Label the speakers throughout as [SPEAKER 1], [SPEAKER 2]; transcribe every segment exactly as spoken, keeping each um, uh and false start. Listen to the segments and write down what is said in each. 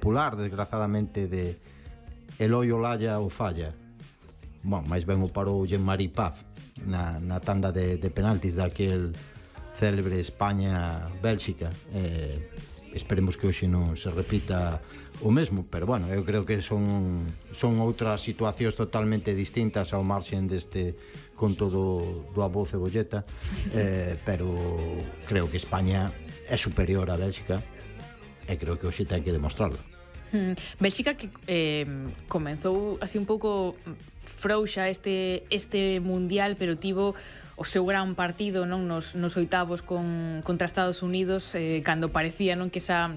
[SPEAKER 1] popular, desgraciadamente, de Eloi Olaya ou Falla. Bueno, máis ben o parou Jean-Marie Paf na, na tanda de, de penaltis daquel célebre España-Bélxica. Eh, esperemos que hoxe non se repita o mesmo, pero bueno, eu creo que son son outras situacións totalmente distintas ao marxen deste conto do, do Abou Cebolleta, eh, pero creo que España é superior a Bélxica e creo que hoxe ten que demostrarlo.
[SPEAKER 2] Hmm. Bélxica que eh, comenzou así un pouco frouxa este este mundial, pero tivo o seu gran partido, non, nos nos oitavos con contra Estados Unidos, eh, cando parecía, non, que esa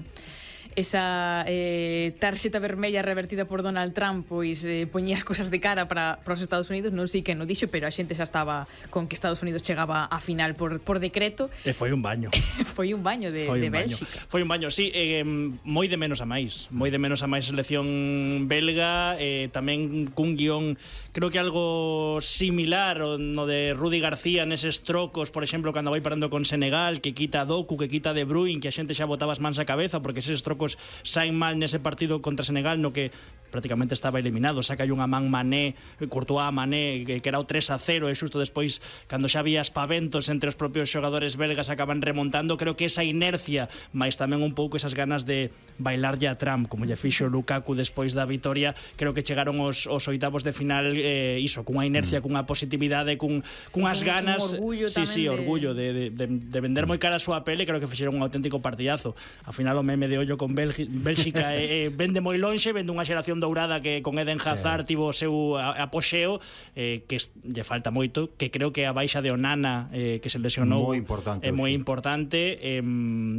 [SPEAKER 2] esa eh, tarxeta vermella revertida por Donald Trump pois eh, poñía as cosas de cara para, para os Estados Unidos. Non sei que non dixo, pero a xente xa estaba con que Estados Unidos chegaba a final por, por decreto.
[SPEAKER 3] E foi un baño.
[SPEAKER 2] Foi un baño de,
[SPEAKER 3] foi
[SPEAKER 2] de
[SPEAKER 3] un baño.
[SPEAKER 2] Bélxica.
[SPEAKER 3] Foi un baño, sí, eh, moi de menos a máis. Moi de menos a máis selección belga, eh, tamén cun guión, creo que algo similar no de Rudi García neses trocos, por exemplo, cando vai parando con Senegal, que quita a Doku, que quita a De Bruyne, que a xente xa botaba as mans a cabeza porque eses trocos saen mal nese partido contra Senegal, no que prácticamente estaba eliminado. Saca unha man Mané, Courtois a Mané, que, que era o tres a cero, e xusto despois, cando xa había espaventos entre os propios xogadores belgas, acaban remontando. Creo que esa inercia, máis tamén un pouco esas ganas de bailar ya a Trump, como lle fixo Lukaku despois da vitoria, creo que chegaron os, os oitavos de final, eh, iso, cunha inercia, cunha positividade, cun, cunhas ganas,
[SPEAKER 2] un orgullo
[SPEAKER 3] sí, sí,
[SPEAKER 2] de...
[SPEAKER 3] orgullo de, de, de, de vender moi cara a súa pele. Creo que fixeron un auténtico partidazo. Ao final o meme de ollo con Bélgica, Bélxica eh, vende moi lonxe, vende unha xeración dourada que con Eden Hazard sí. tivo o seu apoxeo, eh, que lle falta moito, que creo que a baixa de Onana, eh, que se lesionou,
[SPEAKER 1] moi importante,
[SPEAKER 3] é moi
[SPEAKER 1] sí.
[SPEAKER 3] importante, eh,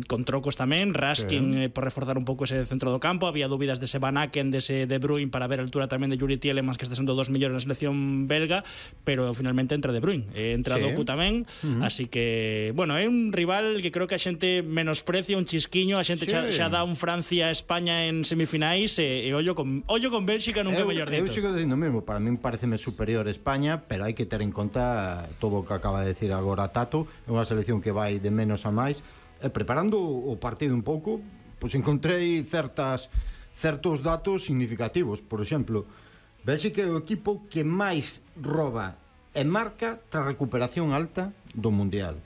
[SPEAKER 3] con trocos tamén, Raskin, sí. eh, por reforzar un pouco ese centro do campo. Había dúbidas dese Van Aken, dese De Bruyne, para ver a altura tamén de Yuri Tielemans, que está sendo dos millóns na selección belga, pero finalmente entra De Bruyne, eh, entra sí. Doku tamén, uh -huh. así que, bueno, é un rival que creo que a xente menosprecia un chisquiño, a xente sí. xa, xa dá un Francia-España en semifinais, e, e ollo con ollo con Bélxica nunca eu, mellor dito.
[SPEAKER 1] Eu sigo dicindo mesmo, para min pareceme superior a España, pero hai que ter en conta todo o que acaba de decir agora Tato. É unha selección que vai de menos a máis. E preparando o partido un pouco, pois encontrei certas certos datos significativos. Por exemplo, Bélxica é o equipo que máis roba e marca tras recuperación alta do Mundial.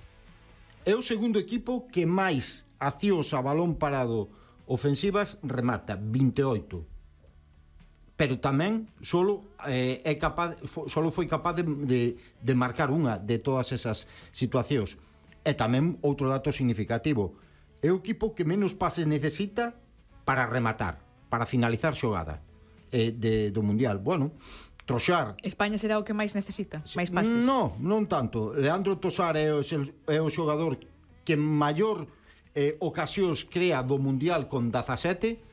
[SPEAKER 1] É o segundo equipo que máis accións a balón parado ofensivas remata, vinte e oito. Pero tamén solo eh, é capaz solo foi capaz de, de, de marcar unha de todas esas situacións. E tamén outro dato significativo, é o equipo que menos pases necesita para rematar, para finalizar xogada eh, de, do Mundial. Bueno, Trossard...
[SPEAKER 2] España será o que máis necesita, máis pases?
[SPEAKER 1] No, non tanto. Leandro Trossard é o, é o xogador que maior eh, ocasións crea do Mundial con dezasete.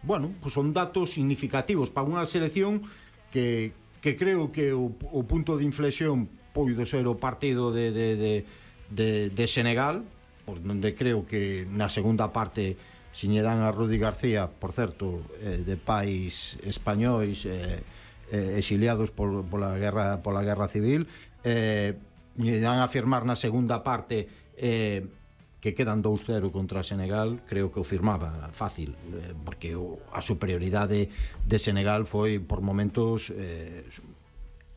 [SPEAKER 1] Bueno, pues son datos significativos para unha selección que, que creo que o, o punto de inflexión poido ser o partido de, de, de, de, de Senegal, por donde creo que na segunda parte se lle dan a Rudi García, por certo, eh, de pais españois eh, eh, exiliados por, pola guerra pola guerra civil, eh, lle dan a firmar na segunda parte eh, que quedan dous cero contra Senegal. Creo que o firmaba fácil, eh, porque o, a superioridade de Senegal foi por momentos eh,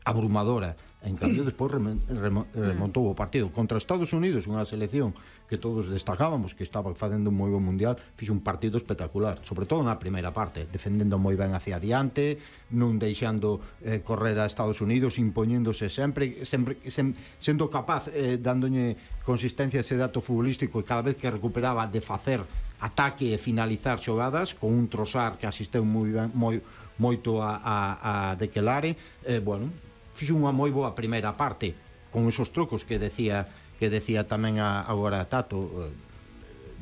[SPEAKER 1] abrumadora. En cambio, despois remontou o partido contra Estados Unidos, unha selección que todos destacábamos que estaba facendo un moi bon mundial. Fixo un partido espectacular, sobre todo na primeira parte, defendendo moi ben hacia adiante, non deixando eh, correr a Estados Unidos, impoñéndose sempre, sempre sem, sendo capaz, eh, dándolle consistencia a ese dato futbolístico, e cada vez que recuperaba de facer ataque e finalizar xogadas, con un Trossard que asisteu moi ben, moi, moito a, a, a Dekelare. eh, bueno, fixo unha moi boa primeira parte con esos trocos que decía que decía tamén a, agora Tato, eh,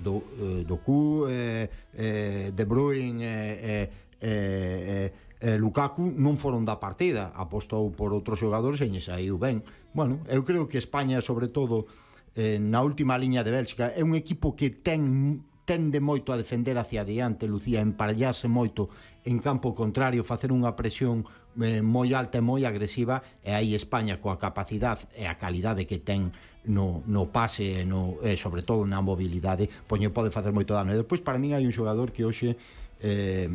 [SPEAKER 1] do, eh, Doku, eh, eh, De Bruyne, eh, eh, eh, eh, Lukaku non foron da partida, apostou por outros xogadores e lle saiu ben. Bueno, eu creo que España, sobre todo eh, na última liña de Bélxica, é un equipo que ten tende moito a defender hacia adiante, Lucía, emparellarse moito en campo contrario, facer unha presión eh, moi alta e moi agresiva, e aí España, coa capacidade e a calidade que ten no, no pase e, no, e sobre todo na mobilidade, pois pode facer moito dano. E despois, para min, hai un xogador que hoxe eh,